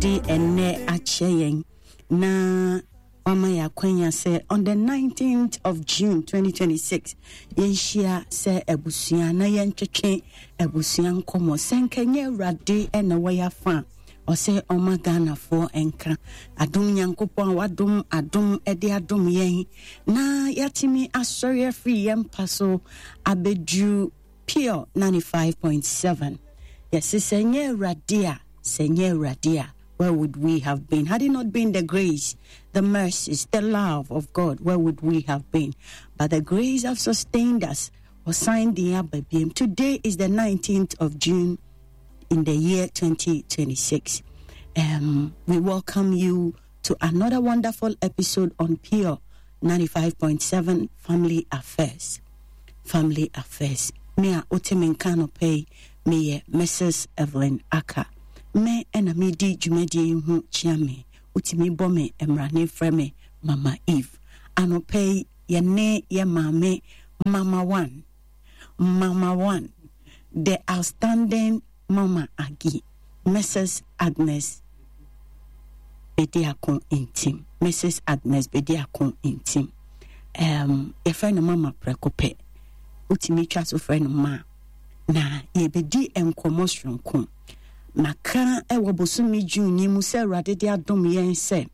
De ɛnnɛ akyɛ yɛn na wama yɛn akwanya sɛ on the 19th of June 2026 yɛnhyia sɛ abusua na yɛntwetwe abusua nkɔmmɔ. Sɛ nka nyɛ Awurade na wɔyɛ afa a, ɔsɛ ɔma Ghanafoɔ nka adom Nyankopɔn a wadom adom de adom yɛn na yɛatumi asɔre afiri yɛn mpa so abɛduru Pure 95.7. Yɛse sɛ nyɛ Awurade a, sɛ nyɛ Awurade a, where would we have been? Had it not been the grace, the mercies, the love of God, where would we have been? But the grace have sustained us. Ɔsan de aba biem. Today is the 19th of June in the year 2026. We welcome you to another wonderful episode on Pure 95.7 Family Affairs. Family Affairs. Me a wote me nka anɔpa yi, meyɛ Mrs. Evelyn Aka. Me ɛna medi dwumadie yi ho kyia me. Wotumi bɔ me mmrane frɛ me Mama Eve. Anɔpa yi, yɛne yɛ maame Mama One, Mama One, the outstanding Mama Aggie, Mrs. Agnes Bediako Ntim, Mrs. Agnes Bediako Ntim. Yɛfrɛ no Mama prɛko pɛ. Wotumi twa so frɛ no Ma. Na yɛbɛdi nkɔmmɔ soronko. Maka wɔ bosome June yi mu sɛ Awurade de adom yɛn sɛ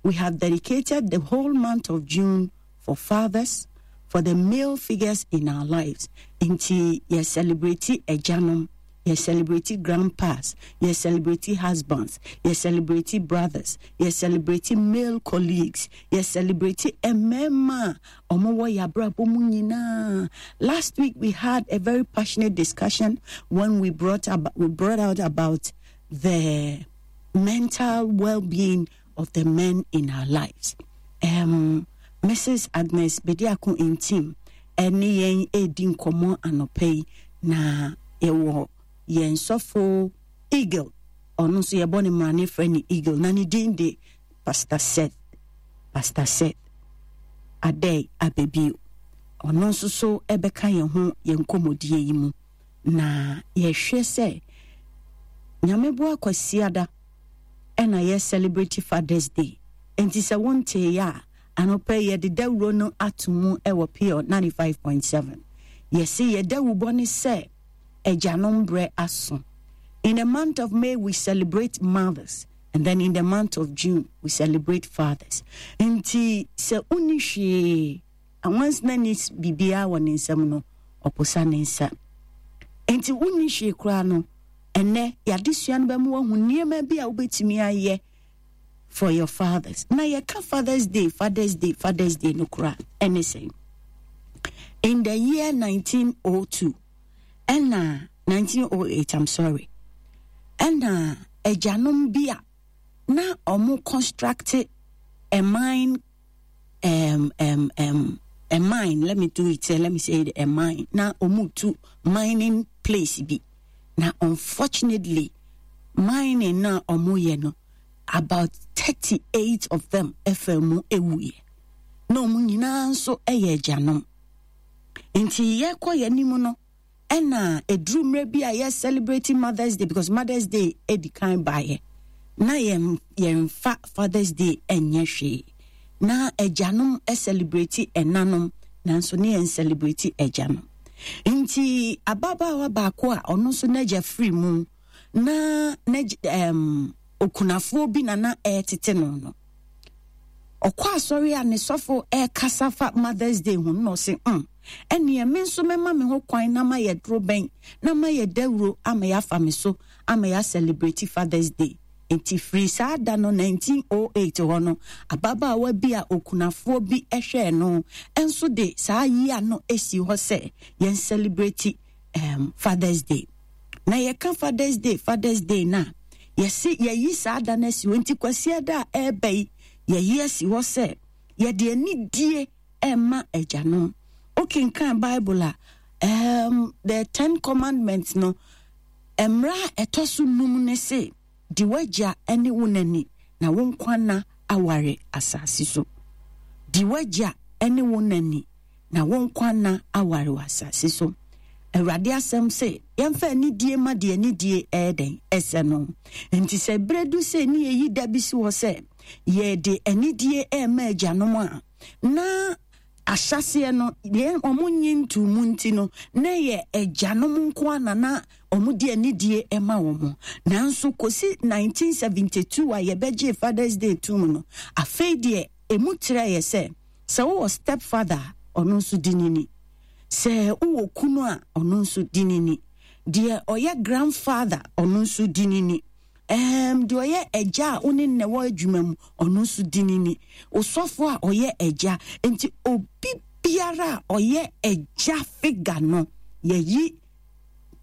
we have dedicated the whole month of June for fathers, for the male figures in our lives. Nti yɛ celebrate agyanom, yɛ celebrate grandpas, yɛ celebrate husbands, yɛ celebrate brothers, yɛ celebrate male colleagues, yɛ celebrate mmarima a wɔwɔ yɛ abrabɔ mu nyinaa. Last week we had a very passionate discussion when we brought out about the mental well-being of the men in our lives. Mrs. Agnes Bediako Ntim ɛne yɛn edi nkɔmɔ anɔpa yi, na yɛwɔ yɛn sɔfo Eagle, ɔno nso yɛbɔ ne mmara frɛ ne Eagle, na ne din de Pastor Seth, Pastor Seth Adei Abebio. Ɔno nso so ɛbɛka yɛn ho yɛn nkɔmmɔdie yi mu, na yɛhwɛ sɛ Nyame boa Kwasiada ɛna yɛ celebrate Father's Day. Enti sɛ wontee yɛ a, anɔpa yi yɛde dawuro no ato mu ɛwɔ Pure 95.7. Yɛse yɛ dawubɔ ne sɛ agyanom berɛ aso. In the month of May we celebrate mothers, and then in the month of June we celebrate fathers. Nti sɛ wonni hwee, anwansena ni biribiara wɔ ne nsam no, ɔposa ne nsa. Nti wonni hwee koraa no, ɛnɛ yɛadesua no bɛma wahu nneɛma bi a wobɛtumi ayɛ for your fathers. Na yɛka Father's Day, Father's Day, Father's Day no koraa ɛne sɛn? In the year 1902, ɛna 1908, I'm sorry, ɛna agyanom bi a na ɔmo construct a mine, a mine, let me do it, let me say it, a mine, na ɔmo tu mining place bi. Na unfortunately, mining na ɔmo yɛ no, about 38 of them ɛfɛ mu ewuiɛ. Na ɔmo nyinaa nso ɛyɛ agyanom. Nti yɛkɔ yɛn anim no, ɛna eduru mmerɛ bi a yɛ celebrate Mother's Day, because Mother's Day edi kan baeɛ. Na yɛmfa Father's Day ɛnyɛ hwee. Na agyanom celebrate ɛnanom, nanso ne yɛn celebrate agyanom. Nti ababaawa baako a ɔno nso n'agya firi mu, na okunafoɔ bi na na ɛretete no no, ɔkɔ asɔre a ne sɔfo ɛrekasa fa Mother's Day ho, na ɔse, ɛneɛ me nso mɛma me ho kwan na mayɛ doro bɛn, na mayɛ dawuro ama yɛafa me so, ama yɛ celebrate Father's Day. Nti firi saa da no 1908 hɔ no, ababaawa bi a okunafoɔ bi hwɛɛ no nso de saa yia no esi hɔ sɛ yɛn celebrate Father's Day. Na yɛka Father's Day, Father's Day na yɛsi yɛyi saa da no asi hɔ. Nti Kwasiada a ɛreba yi, yɛyi asi hɔ sɛ yɛde anidie ɛma agyanom. Wokenkan Bible a, the 10 Commandments no, mmara a ɛtɔ so 5 ne se, di w'agya ne wo nani na wo nkwa nna aware asase so. Di w'agya ne wo nani na wo nkwa nna aware wɔ asase so. Awurade asɛm se yɛmfa anidie ma deɛ anidie ɛyɛ dɛn ɛsɛ no. Nti sɛ berɛ du sɛ ne yɛyi da bi si hɔ sɛ yɛde anidie ɛrema agyanom a, na ahyɛaseɛ no deɛ wɔn nye ntuu mu nti no na ɛyɛ agyanom nko ara na na wɔn de anidie ma wɔn. Nanso kɔsi 1972 a yɛbɛgyee Father's Day tum no, afei deɛ emu kyerɛeɛ sɛ sɛ wowɔ step father a, ɔno nso di ne ni. Sɛ wowɔ kunu a, ɔno nso di ne ni. Deɛ ɔyɛ grandfather, ɔno nso di ne ni. Um, deɛ ɔyɛ agya a wo ne nnɛ wɔ adwuma mu, ɔno nso di ne ni. Osɔfo a ɔyɛ agya. Nti obi biara a ɔyɛ agya figure no, yɛyi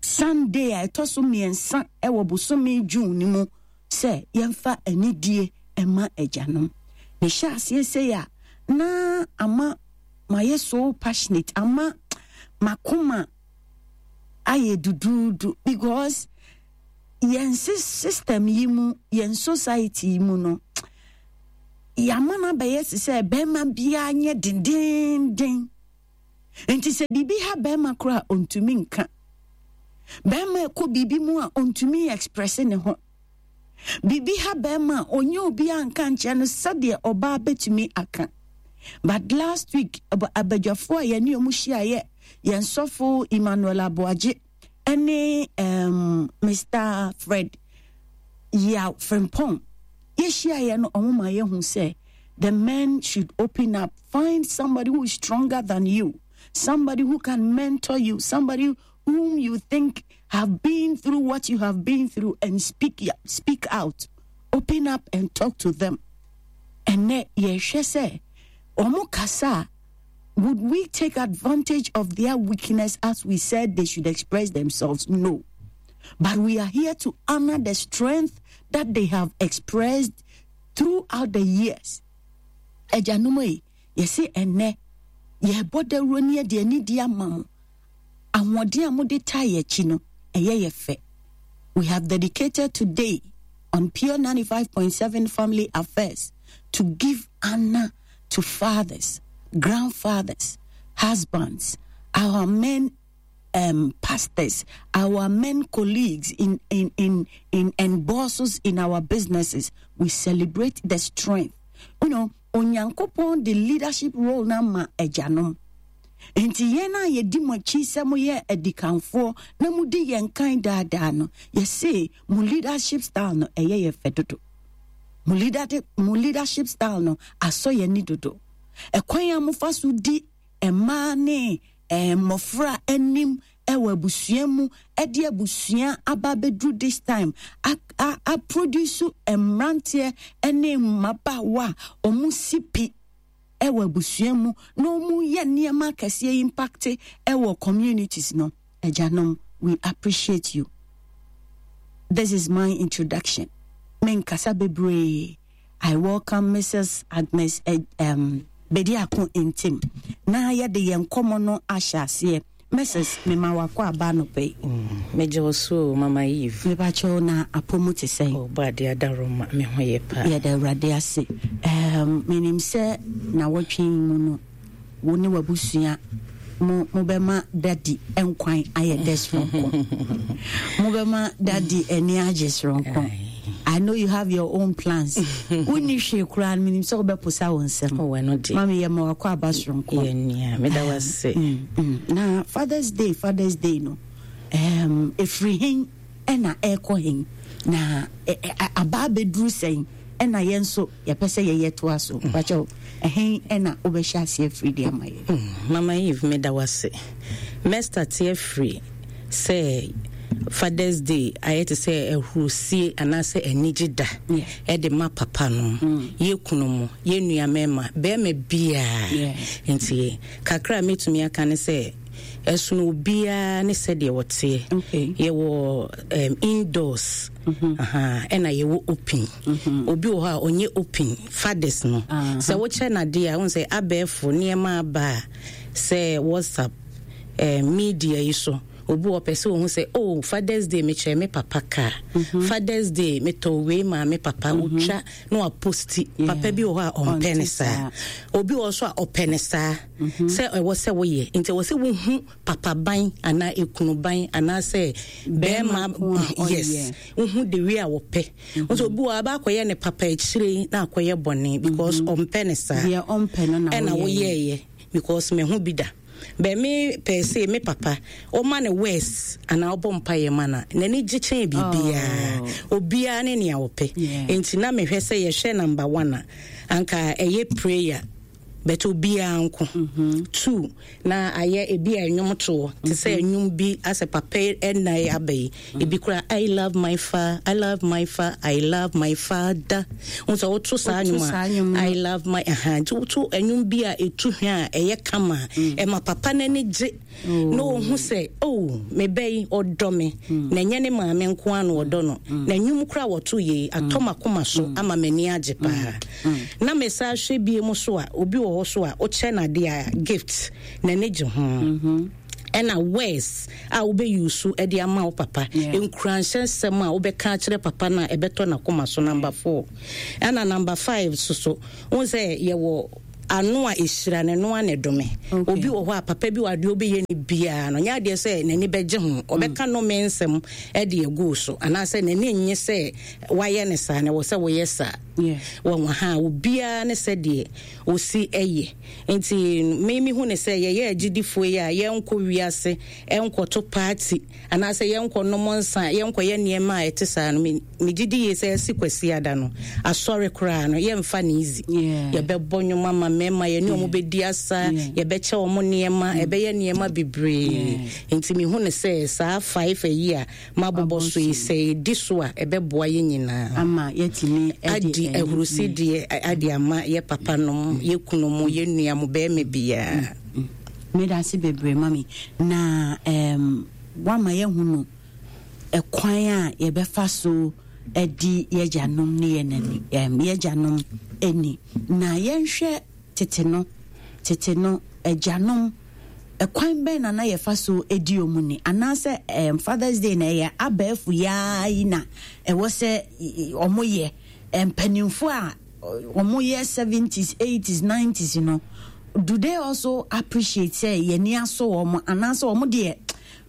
Sunday a ɛtɔ so mmiɛnsa wɔ bosome June no mu sɛ yɛmfa anidie mma agyanom. Mehyɛ aseɛ sei a, na ama mayɛ so passionate, ama makoma ayɛ duduudu because yɛn system yi mu, yɛn society yi mu no, yɛama no abɛyɛ te sɛ bɛrima biara nyɛ dendenden. Nti sɛ biribi ha bɛrima koraa a ɔntumi nka. Bɛrima ɛkɔ biribi mu a ɔntumi express ne ho. Biribi ha bɛrima a ɔnyɛ obiara nka nkyerɛ no sɛdeɛ ɔbaa bɛtumi aka. But last week abadwafoɔ a yɛne ɔmo hyiaeɛ, yɛn sɔfo Emmanuel Aboagye ɛne um, Mr. Fred Yaw Frimpong yɛhyiaeɛ no, ɔmo ma yɛhu sɛ the men should open up. Find somebody who is stronger than you, somebody who can mentor you, somebody whom you think have been through what you have been through, and speak speak out. Open up and talk to them. And yɛhwɛ sɛ ɔmo kasa, would we take advantage of their weakness as we said they should express themselves? No. But we are here to honor the strength that they have expressed throughout the years. Agyanom ei, yɛse ɛnnɛ yɛrebɔ dawuro ne yɛde anidie ama mo. Ahoɔden a mode taa yɛn akyi no, ɛyɛ yɛ fɛ. We have dedicated today on Pure 95.7 Family Affairs to give honor to fathers, grandfathers, husbands, our men pastors, our men colleagues in, in, in, in, and bosses in our businesses. We celebrate the strength. You know, Onyankopɔn de leadership role na ma agyanom. Nti yɛn a yɛdi mo akyi sɛ moyɛ adikanfoɔ na modi yɛn kan daadaa no, yɛse mo leadership style no ɛyɛ yɛ fɛ dodo. Mo leadership style no asɔ yɛn ani dodo. Ɛkwan a mofa so di mmaa ne mmɔfra anim wɔ abusua mu de abusua aba abɛduru this time a produce mmeranteɛ ne mmabaawa a wɔn si pi wɔ abusua mu na wɔn yɛ nneɛma akɛseɛ impact wɔ communities no. Agyanom, we appreciate you. This is my introduction. Menkasa bebree. I welcome Mrs. Agnes Bediako Ntim na yɛde yɛn nkɔmmɔ no ahyɛ aseɛ. Mrs. Mema wakɔ aba anɔpa yi. Megye wo so o, Mama Eve. Mebakyɛw na apɔ mu te sɛn? Oh, bɔ adeɛ adaworoma, me ho yɛ paa. Yɛda Awurade ase. Menim sɛ nawɔtwe yi mu no, wo ne w'abusua mo mobɛma dadi nkwan ayɛ dɛ soronko. Mobɛma dadi ani agye soronko. I know you have your own plans. Wonni hwee koraa no, menim sɛ wobɛposa wo nsam. Oh, ɛno deɛ. Mami, yɛ ma wakɔ aba soronko. Yɛ nua, meda wo ase. Na Father's Day, Father's Day no, ɛfiri hen ɛna ɛrekɔ hen? Na aba abɛduru sɛn? Ɛna yɛn nso yɛpɛ sɛ yɛyɛ toa so. Pakyɛw, ɛhen ɛna wobɛhyɛ aseɛ afiri de ama yɛn? Mama Eve, meda wo ase. Mɛstate afiri sɛ Father's Day ayɛ te sɛ ahurusie anaasɛ anigye da ɛde ma papa no, yɛ kunu mu, yɛ nua mmarima, bɛrima biara. Nti kakra a mɛtumi aka ne sɛ ɛsono obiara ne sɛdeɛ wɔteɛ. Yɛwɔ indoors, ɛna yɛwɔ open. Obi wɔ hɔ a ɔnyɛ open fathers no. Sɛ wokyɛ n'adeɛ a, wohu sɛ abɛɛfo nneɛma aba a sɛ WhatsApp, media yi so. Obi wɔ pɛ sɛ ohu sɛ, oh, Father's Day mekyerɛ me papa kaa. Father's Day metɔ wei maa me papa. Otwa na waposti. Papa bi wɔ hɔ a ɔmpɛ ne saa. Obi wɔ so a ɔpɛ ne saa. Sɛ ɛwɔ sɛ woyɛ. Nti ɛwɔ sɛ wohu papa ban anaa ekunu ban anaasɛ bɛrima, yes. Wohu the way a wɔpɛ. Nso obi wɔ aba akɔyɛ ne papa akyire na akɔyɛ bɔne because ɔmpɛ ne saa. Deɛ ɔmpɛ no na ɛna woyɛɛyɛ because mehu bi da. Bɛ me pɛ sɛ me papa ɔma ne worse anaa ɔbɔ mpaeɛ ma no a, n'ani gye kyɛn biribiara. Obiara ne nea ɔpɛ. Nti na mehwɛ sɛ yɛhwɛ number one a, anka ɛyɛ prayer. But obiara nko. Two, na ayɛ ebi a ɛnwom toɔ te sɛ ɛnwom bi asɛ papa ɛna aba yi. Ebi kora I love my fa, I love my fa, I love my father. Wo sɛ woto saa nnwom a, I love my aha. Nti woto nnwom bi a ɛtu hwa a ɛyɛ kama a, ɛma papa n'ani gye. Na ɔhu sɛ, oh, me ba yi ɔdɔ me. Na ɛnyɛ ne maame nko ara na ɔdɔ no. Na nnwom kora wɔto yei atɔ m'akoma so ama m'ani agye paa. Na mesan hwɛ bie mu so a, obi wɔ hɔ so a wokyɛ no adeɛ a, gift, n'ani gye ho. Ɛna words a wobɛyusu de ama wo papa, nkuranhyɛ nsɛm a wobɛka akyerɛ papa no a ɛbɛtɔ n'akoma so, number 4. Ɛna number 5 so so, wohu sɛ yɛwɔ ano a ɛhyira no, ɛno a na ɛdome. Obi wɔ hɔ a papa bi wɔ adeɛ wobɛyɛ no biara no, nyɛ adeɛ sɛ n'ani bɛgye ho, ɔbɛka nnome nsɛm de agu so, anaasɛ n'ani nnye sɛ wayɛ no saa na ɛwɔ sɛ woyɛ saa. Wɔn ha obiara ne sɛdeɛ ɔsi ɛyɛ. Nti me mehu ne sɛ yɛyɛ agyidifoɔ yi a, yɛnkɔ wiase nkɔto party anaasɛ yɛnkɔ nom nsa, yɛnkɔyɛ nneɛma a ɛte saa no, megye di yie sɛ ɛsi Kwasiada no, asɔre koraa no, yɛmfa no easy. Yɛbɛbɔ nnwom ama mmarima, yɛne wɔn bɛdi asa, yɛbɛkyɛ wɔn nneɛma, ɛbɛyɛ nneɛma bebree. Nti mehu ne sɛ saa 5 ayi a mabobɔ so yi, sɛ yɛdi so a, ɛbɛboa yɛn nyinaa. Ama yɛatumi adi ahurusideɛ ade ama yɛ papa nom, yɛ kunu mo, yɛ nua mo, bɛrima biara. Meda ase bebree, mami. Na wama yɛahunu ɛkwan a yɛbɛfa so adi yɛagyanom ne yɛn yɛagyanom ani. Na yɛnhwɛ tete no, tete no agyanom, ɛkwan bɛn na na yɛfa so di wɔn ni? Anaasɛ Father's Day na ɛyɛ abɛɛfo yaa yi na ɛwɔ sɛ wɔn yɛ? Mpanimfoɔ a wɔn yɛ 70s, 80s, 90s no, do they also appreciate sɛ yɛn ani asɔ wɔn, anaasɛ wɔn deɛ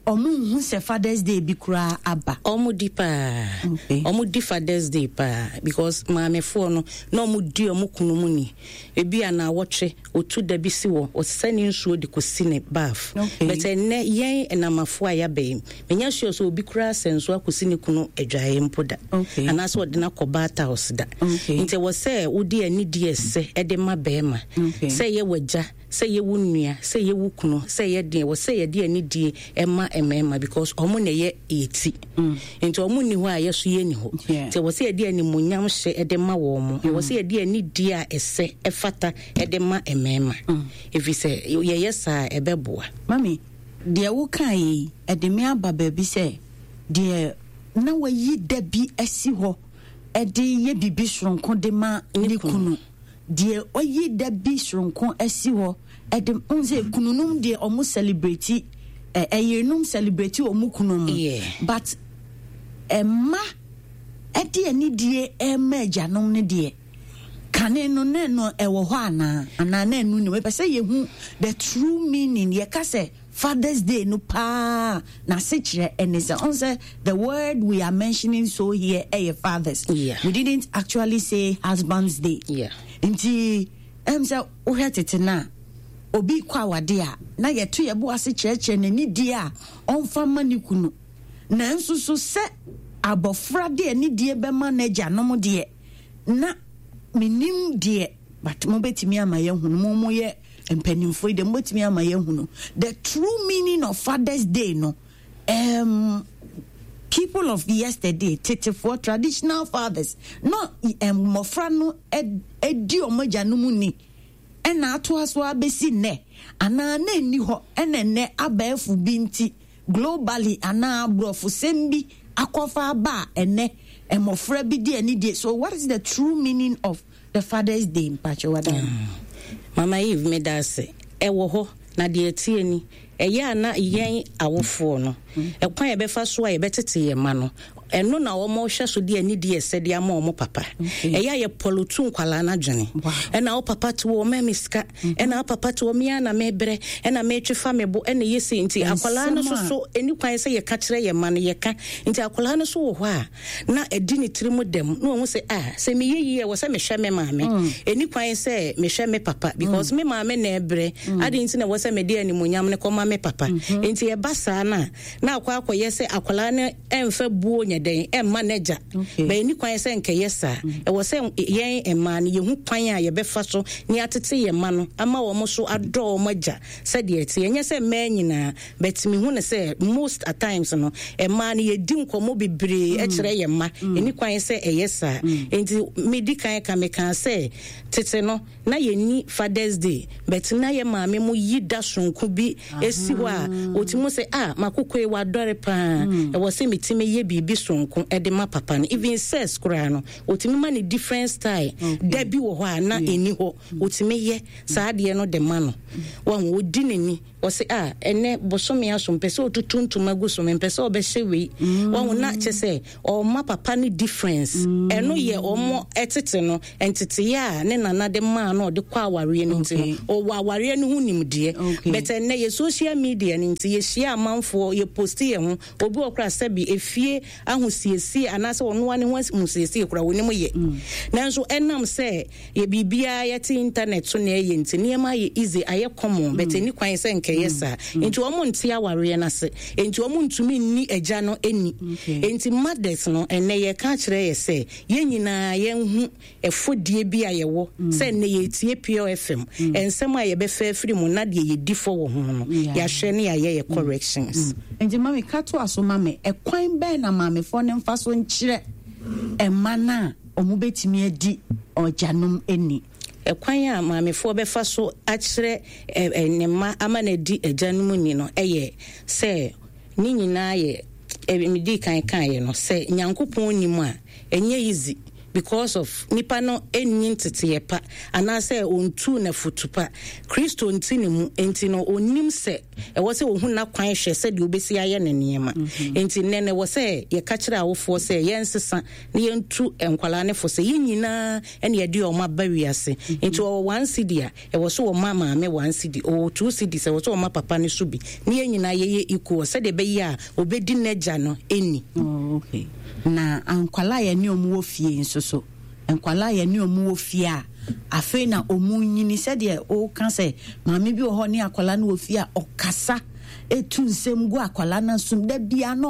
wɔn nhu sɛ Father's Day bi koraa aba? Wɔn di paa. Wɔn di Father's Day paa because maamefoɔ no na wɔn di wɔn kunu mu ni. Ebi a na awɔtwe otu da bi si wɔ ɔsesa ne nsuo de kɔsi ne bath. But ɛnnɛ yɛn ɛnamafoɔ a yɛaba yi, menya sure sɛ obi koraa sɛ nsuo akɔsi ne kunu adwaeɛ mpo da. Anaasɛ ɔde no akɔ bath house da. Nti ɛwɔ sɛ wode anidie ɛsɛ ɛde ma bɛrima. Sɛ ɛyɛ w'agya, sɛ ɛyɛ wo nua, sɛ ɛyɛ wo kunu, sɛ ɛyɛ deɛ, ɛwɔ sɛ yɛde anidie ɛma mmarima because ɔmo na ɛyɛ yɛ ti. Nti ɔmo nni hɔ a yɛ so yɛ nni hɔ. Nti ɛwɔ sɛ yɛde animuonyam hyɛ ɛde ma wɔn mo. Ɛwɔ sɛ yɛde anidie a ɛsɛ ɛfata ɛde ma mmarima. Ɛfiri sɛ yɛyɛ saa a ɛbɛboa. Mami, deɛ wokaeɛ yi, ɛde me aba baabi sɛ deɛ na wayi da bi asi hɔ de yɛ biribi soronko de ma ne kunu. Deɛ ɔyi da bi soronko asi hɔ de, wohu sɛ kununom deɛ ɔmo celebrate, ɛyerenom celebrate ɔmo kunu mu. But ɛma ɛde anidie ɛma agyanom no deɛ, kane no na ɛno ɛwɔ hɔ anaa? Anaa na ɛno ni? Mepɛ sɛ yɛhu the true meaning. Yɛka sɛ Father's Day no paa n'asekyerɛ ɛne sɛ, ɔn sɛ the word we are mentioning so here ɛyɛ fathers. We didn't actually say Husband's Day. Nti ɛm sɛ wohwɛ tete no a, obi kɔ awade a na yɛto yɛbo ase kyerɛkyerɛ n'anidie a ɔmfa ma ne kunu. Nanso so sɛ abɔfra de anidie bɛma n'agyanom deɛ, na menim deɛ, but mobɛtumi ama yɛahunu, mo moyɛ mpanimfoɔ yi deɛ mobɛtumi ama yɛahunu the true meaning of Father's Day no. People of yesterday, tetefoɔ, traditional fathers, no mmɔfra no di wɔn agyanom ni ɛna atoa so abɛsi nnɛ, anaa na ɛnni hɔ ɛna nnɛ abɛɛfo bi nti globally anaa aborɔfosɛm bi akɔfa aba a ɛnɛ mmɔfra bi di anidie. So what is the true meaning of the Father's Day? Mpakyɛ wada. Mama Eve, meda ase. Ɛwɔ hɔ. Na deɛ ɛteɛ ni, ɛyɛ a na yɛn awofoɔ no, ɛkwan a yɛbɛfa so a yɛbɛtete yɛn mma no, ɛno na wɔhwɛ so de anidie ɛsɛ de ama wɔn papa. Ɛyɛ a yɛpɔlotu nkwadaa no adwene. Ɛna wo papa te wɔ ɔma me sika, ɛna wo papa te wɔ me ara na mebrɛ, ɛna metwe fa me bo, ɛna ɛyɛ sei. Nti akwadaa no nso so, ɛni kwan sɛ yɛka kyerɛ yɛn mma no, yɛka. Nti akwadaa no nso wɔ hɔ a, na ɛdi ne tiri mu dɛm na wahu sɛ ah sɛ meyɛ yie ɛwɔ sɛ mehwɛ me maame mm. ɛni kwan sɛ mehwɛ me papa because mm. me maame na ɛbrɛ mm. ade nti na ɛwɔ sɛ mede animonyam no kɔma me papa mm-hmm. nti ɛba saa no a na akɔ akɔyɛ sɛ akwadaa no ɛmfa buo nyɛ dɛn ɛmma n'agya bɛyɛ ɛni kwan sɛ nkɛyɛ saa ɛwɔ sɛ yɛn mmaa no yɛhu kwan a yɛbɛfa so ne atete yɛn mma no ama wɔn so adɔ wɔn agya sɛdeɛ ɛte ɛnyɛ sɛ mmaa nyinaa But me hu no sɛ most at times no mmaa no yɛdi nkɔmmɔ bebree mm. kyerɛ yɛn mma mm. ɛni kwan sɛ ɛyɛ saa mm. nti medi kan ka mekaa sɛ tete no na yɛnni Father's Day but na yɛ maame mo yi da sonko bi ɛsi hɔ a ɔtumi sɛ ah makokoe wadɔre paa ɛwɔ sɛ metumi yɛ biribi sonko ɛde ma papa no, even sex koraa no ɔtumi ma no different style. Da bi wɔ hɔ a na ɛni hɔ, ɔtumi yɛ saa adeɛ no de ma no, wahu ɔdi n'ani. Ɔse ah ɛnɛ bosome aso mpɛ sɛ ɔtutu ntoma gu so, mempɛ sɛ ɔbɛhyɛ wei mm. Wahu na kyɛ sɛ ɔma papa no difference mm. Ɛno yɛ ɔmo ɛtete no nteteyɛ a ne nana de maa no ɔde kɔ awareɛ no nti no ɔwɔ awareɛ no ho nimdeɛ. But ɛnɛ yɛ social media no nti yɛhyia amanfoɔ, yɛ posti yɛ ho, obi wɔ kora sɛbi efie ahosiesie anaasɛ ɔnoa ne ho ahosiesie kora wɔnim yɛ mm. Nanso ɛnam sɛ Yɛ biribiara yɛte internet so na ɛyɛ nti nneɛma ayɛ easy, ayɛ common, but ɛni kwan sɛ nka ɛyɛ saa. Nti wɔn nte awareɛ no ase, nti wɔn ntumi nni agya no ni. Nti mothers no ɛnnɛ yɛka akyerɛ yɛ sɛ yɛn nyinaa yɛnhu ɛfɔdie bi a yɛwɔ sɛ ɛnnɛ yɛretie Pure FM, nsɛm a yɛbɛfa afiri mu na deɛ yɛdi fɔ wɔ ho no yɛahwɛ ne yɛayɛ yɛ corrections. Nti mami ka toa so ma me, ɛkwan bɛn na maamefoɔ no mfa so nkyerɛ mma no a Wɔbɛtumi adi ɔgyanom ni. Ɛkwan a maamefoɔ bɛfa so akyerɛ ne mma ama no adi agyanom ni no yɛ sɛ ne nyinaa yɛ, medii kan kaeɛ no, sɛ Nyankopɔn nni mu a, ɛnyɛ easy because of nipa no nni nteteeɛ pa anaasɛ ɔntuu no afotu pa. Kristo nte ne mu, enti no ɔnnim sɛ ɛwɔ sɛ ɔhu n'akwan hwɛ sɛdeɛ ɔbɛsi ayɛ ne nneɛma. Enti nnɛ no ɛwɔ sɛ yɛka kyerɛ awofoɔ sɛ yɛnsesa na yɛntu nkwadaa no fo sɛ yɛn nyinaa na yɛde wɔn aba wiase. Nti ɔwɔ 1 cedi a, ɛwɔ sɛ ɔma maame 1 cedi. Ɔwɔ 2 cedis, ɛwɔ sɛ ɔma papa no so bi. Na yɛn nyinaa yɛyɛ equal sɛdeɛ ɛbɛyɛ a ɔbɛdi n'agya no ni. Oh, okay. Na nkwadaa a yɛne wɔn wɔ fie nso so, nkwadaa a yɛne wɔn wɔ fie a afei na wɔn nyini, sɛdeɛ woka sɛ maame bi wɔ hɔ ne akwadaa no wɔ fie a ɔkasa etu nsɛm gu akwadaa no asom da biara na